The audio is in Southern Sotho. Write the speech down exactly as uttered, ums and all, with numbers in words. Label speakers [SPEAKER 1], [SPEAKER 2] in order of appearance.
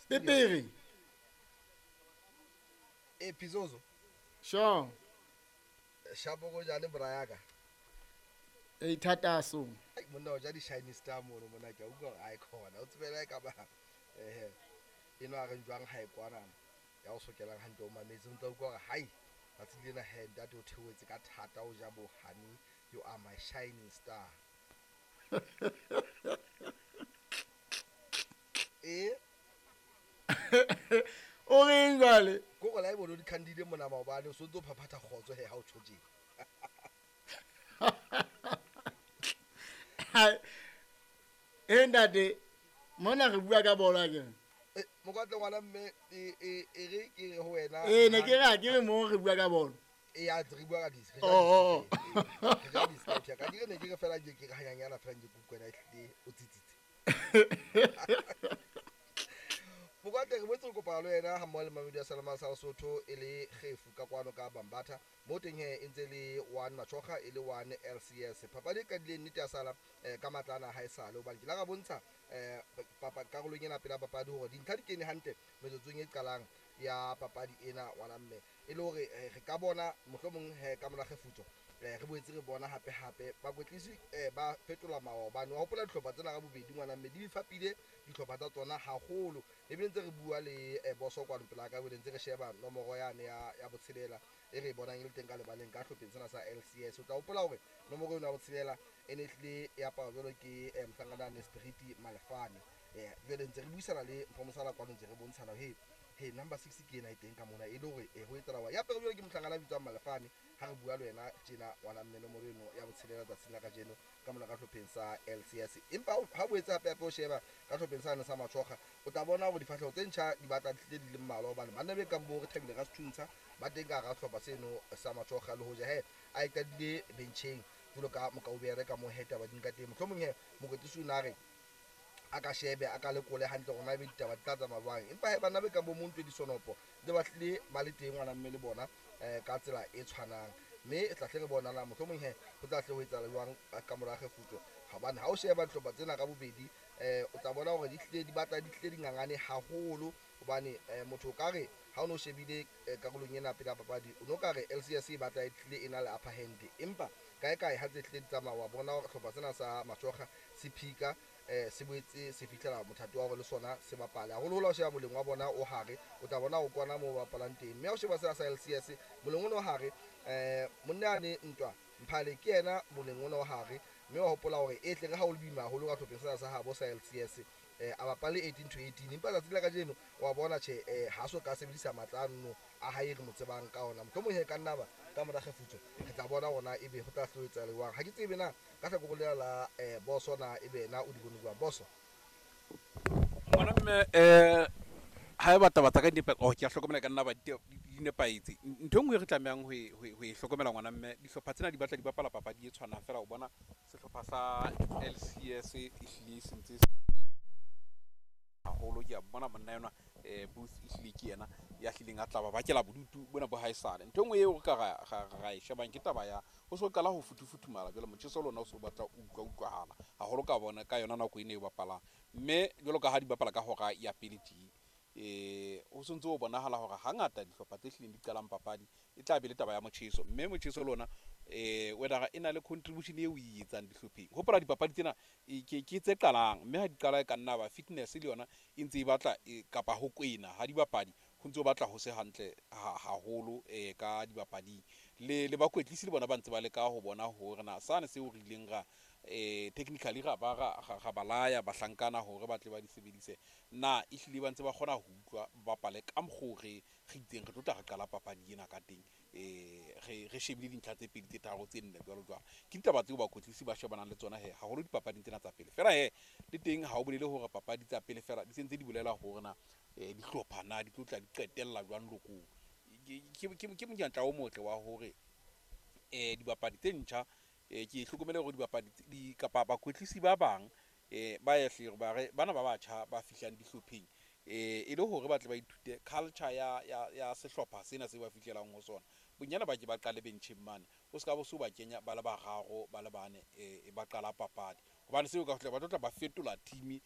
[SPEAKER 1] Pepere.
[SPEAKER 2] E Pizozo.
[SPEAKER 1] Sure.
[SPEAKER 2] Shapo go jane brayaka.
[SPEAKER 1] E thata so.
[SPEAKER 2] Ai monna o ja di shiny star mono mona ke utlwa hore ai khona. O tsebela e ka ba eh eno a re jwang ha e kwana. Ya o sokelang hantle o mametse o ntla utlwa hore hai tsatsi lena he ntate o theohetse ka thata o ja bo honey, you are my shining star. E
[SPEAKER 1] o reng jwale?
[SPEAKER 2] Ko go la e bono di candide mona maobane o so ntso phaphatha kgotso he ha o tjho tje.
[SPEAKER 1] E ntate mona re bua ka bolo akere.
[SPEAKER 2] Eh mokwatle ngwana mme e e e re ke re ho wena.
[SPEAKER 1] Eh ne ke re ke re mo re bua ka bolo.
[SPEAKER 2] E ya re bua ka dis.
[SPEAKER 1] Oh oh.
[SPEAKER 2] Re ja dis ka ka dire ne ke re fela ke ke hanyanyana fela ke kukwena ehlile o tsitsitse. Mokwatle re boetse re kopana le wena ha mmoho le Mamelodi ya Salama sa Lesotho e le kgefu ka kwano ka Bambatha. Mo teng he e ntse le one Machoga e le one L C S. Papadi e qadileng nnete ya sala ka matlana ha e sale hobane ke la ra bontsha eh papa karolong ena pela papadi hore dintlha di kene hantle metsotsong e qalang ya papadi ena ngwana mme. E le hore re ka bona mohlomong he ka mora kgefutso re boetse re bona hape hape bakwetlisi ba fetola maobane. Wa hopola dihlopha tsena ka bobedi ngwana mme di fapile dihlopha tsa tsona haholo. Ebile ntse re bua le boso kwano pela ka bile ntse re sheba nomoro yane ya ya botshelela e re bonang e le teng ka lebaleng ka hlopheng sena sa L C S. O tla hopola hore nomoro eno ya botshelela e ne hlile ya apara jwalo ke mohlankana ne Spirit Malefane. Eh jwale ntse re buisana le Mfomosala kwano ntse re bontshana he he number six ke ena e teng ka mona e le hore ho etsahala wa ya pele jwale ke mohlankana bitswang Malefane ha re bua le wena tjena ngwana mme nomoro eno ya botshelela tsatsing la kajeno ka mona ka hlopheng sa L C S. Empa ha bo etsa hape hape o sheba ka hlopheng sa sa Machoga o tla bona hore difahleho tse ntjha di batla di tlile di le mmalwa hobane banna be kang bo re thabile ka Sethuntsha ba teng ka hara sehlopha seno sa Machoga le hoja he a e qadile bencheng jwalo ka Mokaubere ka mo heta ba di nka teng. Mohlomong he mokwetlisi o na re a ka shebe a ka lekole hantle hore na ebe ditaba di tla tsamaya jwang. Empa he banna be kang bo Montwe Disonopo ntse ba hlile ba le teng ngwana mme le bona eh ka tsela e tshwanang. Mme e tla hle re bona na mohlomong he ho tla hle ho etsahala jwang ka mora kgefutso. Hobane ha o sheba dihlopha tsena ka bobedi eh o tla bona hore di hlile di batla di hlile di ngangane haholo hobane motho o ka re ha o no shebile karolong ena pele ya papadi o no ka re L C S e batla e hlile e na le upper hand. Empa kae kae ha tse hlile di tsamaya wa bona hore hlopha sena sa Machoga se phika eh se boetse se fihlela mothato wa hore le sona se bapale. Haholoholo ha o sheba moleng wa bona o hare o tla bona o kwana moo ba bapalang teng. Mme ha o sheba sena sa L C S moleng ona o hare eh monna ane ntwa Mphale ke yena moleng ona o hare mme wa hopola hore e tle re ha o le boima haholo ka hlopheng sena sa habo sa L C S eh a bapale eighteen to eighteen. Empa tsatsi la kajeno wa bona tjhe eh ha so ka sebedisa matla ano a hae re mo tsebang ka ona. Mohlomong he ka nna ba ka mora kgefutso re tla bona hore ebe ho tla hloetsa jwang. Ha ke tsebe na ka hlakoreng lena la eh boso na ebe na o di bone jwang boso.
[SPEAKER 3] Ngwana mme eh ha e batla batla ka di oh ke a hlokomela ka nna ba di nepahetse. Ntho e nngwe re tlamehang ho e ho e hlokomela ngwana mme dihlopha tsena di batla di bapala papadi e tshwanang fela. O bona sehlopha sa L C S e hlile se ntse haholo. Ke a bona monna enwa eh Booth e hlile ke yena ya hlileng a tla ba bakela bodutu bona bo haesale. Ntho e nngwe eo re ka ra ra e shebang ke taba ya ho so qala ho futufuthumala jwale motjheso lona o so batla o utlwa utlwahala haholo ka bona ka yona nako ena e bapalang. Mme jwalo ka ha di bapala ka hora ya pele tje eh o sontse o bonahala hore hangata dihlopha tse hlileng di qalang papadi e tla be le taba ya motjheso. Mme motjheso lona eh whether e na le contribution eo e etsang dihlopheng. Hopola dipapadi tsena ke ke tse qalang mme ha di qala e ka nna ba fitness le yona e ntse e batla kapa ho kwena ha dibapadi ho ntse o batla ho se hantle haholo eh ka dibapading. Le le bakwetlisi le bona ba ntse ba leka ho bona hore na sane seo re ileng ra eh technically ra ba ra ra balaya bahlankana hore ba tle ba di sebedise na e hlile ba ntse ba kgona ho utlwa ba bapale ka mokgo re re itseng re tlo tla re qala papadi ena ka teng eh re re shebile dintlha tse pedi tse tharo tse nne jwalo jwalo. Ke ditaba tseo bakwetlisi ba shebanang le tsona he haholo dipapading tsena tsa pele fela. He le teng ha o bolele hore papadi tsa pele fela di sentse di bolela hore na eh dihlopha na di tlo tla di qetella jwang lokong. Ke ke ke monyetla o motle wa hore eh dibapadi tse ntjha eh ke hlokomele hore dibapadi di kapa bakwetlisi ba bang eh ba ya hle ba re bana ba batjha ba fihlang dihlopheng eh e le hore ba tle ba ithute culture ya ya ya sehlopha sena se ba fihlelang ho sona. Bonyane ba ke ba qale bencheng mane o ska bo so ba kenya ba le bararo ba le bane eh ba qala papadi hobane seo ka hle ba tlo tla ba fetola team